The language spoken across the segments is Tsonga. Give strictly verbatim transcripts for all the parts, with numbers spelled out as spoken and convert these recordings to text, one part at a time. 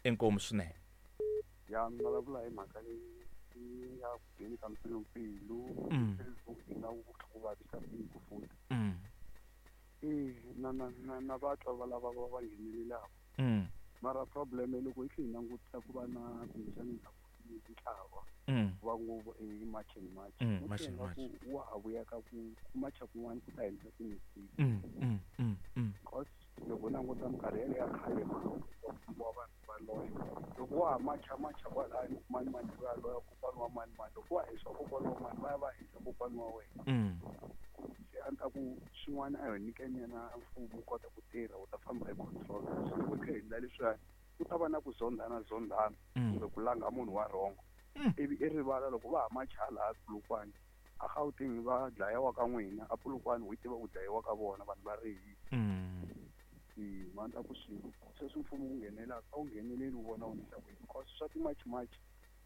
Inkomu swinene. Ya mi vulavula hi mhaka leyi ya ku ngheni ka mpfilumpfilu Mm. na ku vavisa tiko futhi. Mm. E na na na na vatwa va lava va va nghenelelaka. Mm. Mara problem loko hi tlhe hi langutisa ku va na kumbexana ntlawa Mm. va ngopfu i March and March. Mm, Ni March and twa March. ingaku wa ha vuya ka ku ku macha kun'wana ku ta endla ti-mistake. Mm, mm, mm, mm. Because loko u languta minkarhi yaleyo ya khale wa vanhu va loya. Loko wa ha macha macha kwalaya mani mani u ya loya kokwana wa mani mani. Loko wa hisa kokwana wa mani va ya va hisa kokwana wa wena. Mm. Se a ni ta ku swin'wana a hi nyikeni yena mfumo wu kota ku tirha wu ta famba hi control. Se loko hi kha hi endla leswiya ku ta va na ku zondhana zondhana Mm. kumbe ku langa munhu wa wrong. Mm. Ivi i rivala loko va ha macha laha Polokwane a Gauteng va dlayiwa ka n'wina a Polokwane wu tiva ku dlayiwa ka vona vanhu va rihile. Mm. E ma ni ta ku swilo sweswi mfumo wu nghenelelaka a wu ngheneleli wu vona wu endlisa ku yini because swa ti-march march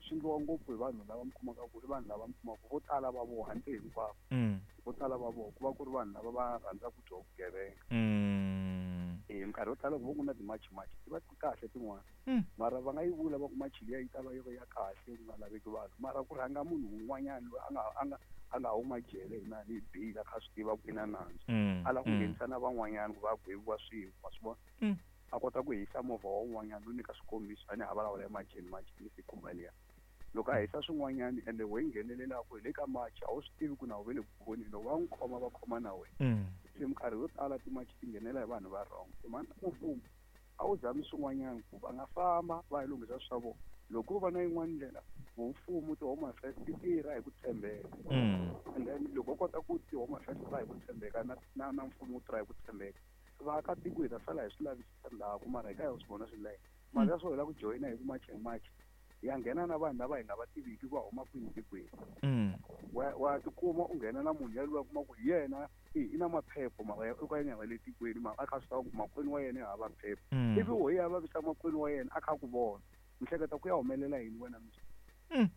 swi endliwa ngopfu hi vanhu lava mi kumaka ku i vanhu lava mi kumaka vo tala va vona handle hinkwavo. Mm. Vo tala va vona ku va ku ri vanhu lava va rhandzaka byo vugevenga. Mm. E minkarhi yo tala loko vo ku na ti-march march ti va ti kahle tin'wana. Mm. Mara va nga yi vula va ku march liya yi ta va yi ri ya kahle ku nga laveki vanhu mara ku rhanga munhu un'wanyana loyi a nga a nga a nga huma jele hi na hi bail a kha a swi tiva ku i na nandzu. Mm. A lava ku Mm. nghenisa na van'wanyana ku va gweviwa swin'we wa swi vona. Mm. A kota ku hisa movha wa un'wanyana no nyika swikombiso a ni ha vulavula hi March and March ni se khumba liya. Loko a hisa swin'wanyana ende wehe yi nghenelelaka hi le ka march a wu swi tivi ku na wu ve le ku voneni loko va n'wi khoma va khoma na wena. Mm. Se minkarhi yo tala ti-march ti nghenela hi vanhu va wrong. Se mhani mfumo a wu zami swin'wanyana ku va nga famba va ya lunghisa swa vona. Loko ko va na yin'wana ndlela vo mfumo ti-home affairs ti tirha hi ku tshembeka. Mm. And then loko u kota ku ti-home affairs ti tirha hi ku tshembeka na na na mfumo wu tirha hi ku tshembeka vaakatiko hi ta sala hi swi lavisisa ndzhaku mara hi ka hi swi vona swi layeni. Mara ya swo hi lava ku joyina hi ku March and March hi ya nghena na vanhu lava hi nga va tiviki va huma kwini tikweni. Mm. Wa wa tikuma u nghena na munhu yaloye u kuma ku hi yena i i na maphepha mara o ka ya nga le tikweni mara a kha a swi tiva ku makwenu wa yena i hava phepha. Mm. Ivi wo ya vavisa makwenu wa yena a kha a ku vona. Mi hleketa ku ya humelela yini wena mundzuku? Mm.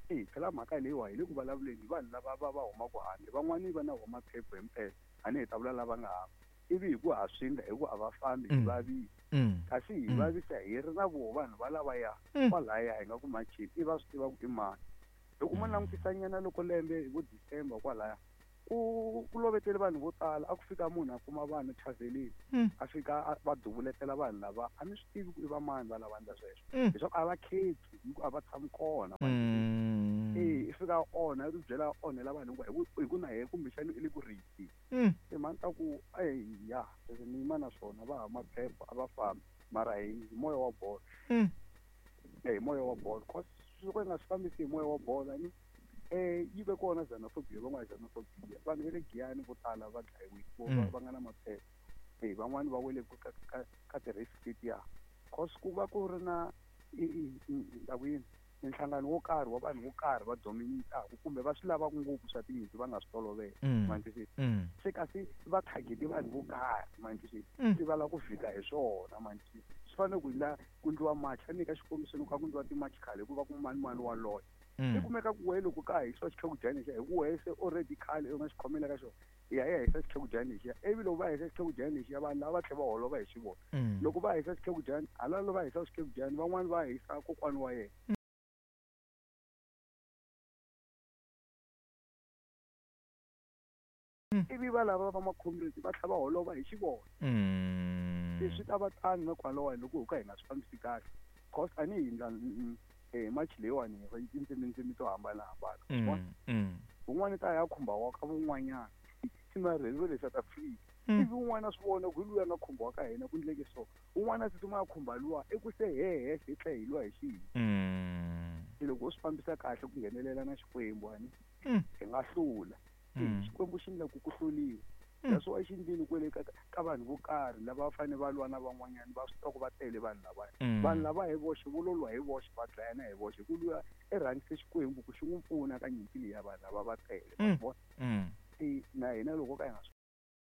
E phela mhaka leyiwa hi le ku vulavuleni hi vanhu lava va va humaka handle van'wani va na wona maphepha himpela a ni hi ta vula lava nga hava. Ivi hi ku ha swi endla hi ku a va fambi hi Mm. vavisa. Mm. Kasi hi Mm. vavisa hi ri na voho vanhu va lavaya Mm. kwalaya hi nga ku macheni i va swi tiva ku i mani. Loko mo Mm. langutisa nyana loko lembe hi vo December kwalaya ku ku lovetele vanhu vo tala a ku fika munhu a kuma vanhu thavhenini Mm. a fika a va duvuletela vanhu lava a mi swi tivi ku i va mani va lava endla sweswo. Mm. Leswaku a va khetsi hi ku a va tshami kona. Mm. E i fika a onha i ti byela a onhela vanhu hinkwavo hi ku hi ku na yena kumbexana i le ku rihisi. Mm. Se mhani ta ku eya leswi ni yima na swona va hava maphepha a va fambi mara hi moya wa bolo. Mm. E hi moya wa bolo cause swo ka hi nga swi fambisi hi moya wa bolo ni eh yi ve kona xenophobia va nga xenophobia vanhu va le Giyani vo tala va dlayiwile vo Mm. va nga na maphepha. E van'wani va wele ka ka ka ti-risk letiya cause ku va ku ri na i i i ku yini minhlangano wo karhi wa vanhu vo karhi va dominate-aka kumbe va swi lavaka ngopfu swa tinyimpi va nga swi tolovela. Mm. Ma twisisa? Mm. Se kasi va target vanhu vo karhi ma twisisa? Mm. Se va lava ku vhika hi swona ma twisisa? Swi fanele ku endla ku endliwa march a ni nyika xikombiso loko a ku endliwa ti-march khale ku va ku mani mani wa loya. Mm. I kumeka ku wehe loko ka ha hisiwa xikhekujani lexiya hi ku wehe se already khale u nga xi khomela ka xona hi ya hi ya hisa xikhekujani lexiya ivi loko va hisa xikhekujani lexiya vanhu lava va tlhela va holova hi xivona. Mm. Loko va hisa xikhekujani hala va hisa xikhekujani van'wani va hisa kokwana wa yena. Mm. Ivi va lava va ma-comrades va tlhela va holova hi xivona. Mm. Se swi ta va tano na kwalawani loko ho ka hi nga swi fambisi kahle. Cause a ni hi endla e march leyiwani hi tindzimi to hambanahambana. Mm. Mm. Un'wana ta ya khumba wa ka vun'wanyana marhelo va le South Africa. Mm. Ivi un'wana a swi vona ku hi luya nga khumba wa ka hina ku endleke so. Un'wana a tsutsuma a khumba luwa i ku se hehe hi tlhe hi lwa hi xihi. Mm. Se loko u swi fambisa kahle ku nghenelela na Xikwembu a ni Mm. hi nga hlula. Mm. Xikwembu xi endla ku ku hluriwa. Mm. That's why xi endlile kwale ka ka vanhu vo karhi lava va fanele va lwa na van'wanyana va swi tiva ku va tele vanhu lavaya. Mm. Vanhu lava hi voxe vo lo lwa hi voxe va dlayana hi voxe hi ku luya i rhangise Xikwembu ku xi n'wi pfuna ka nyimpi leyi ya vanhu lava va tele. Mm. Vona? Mm. E na hina loko ka hi nga swi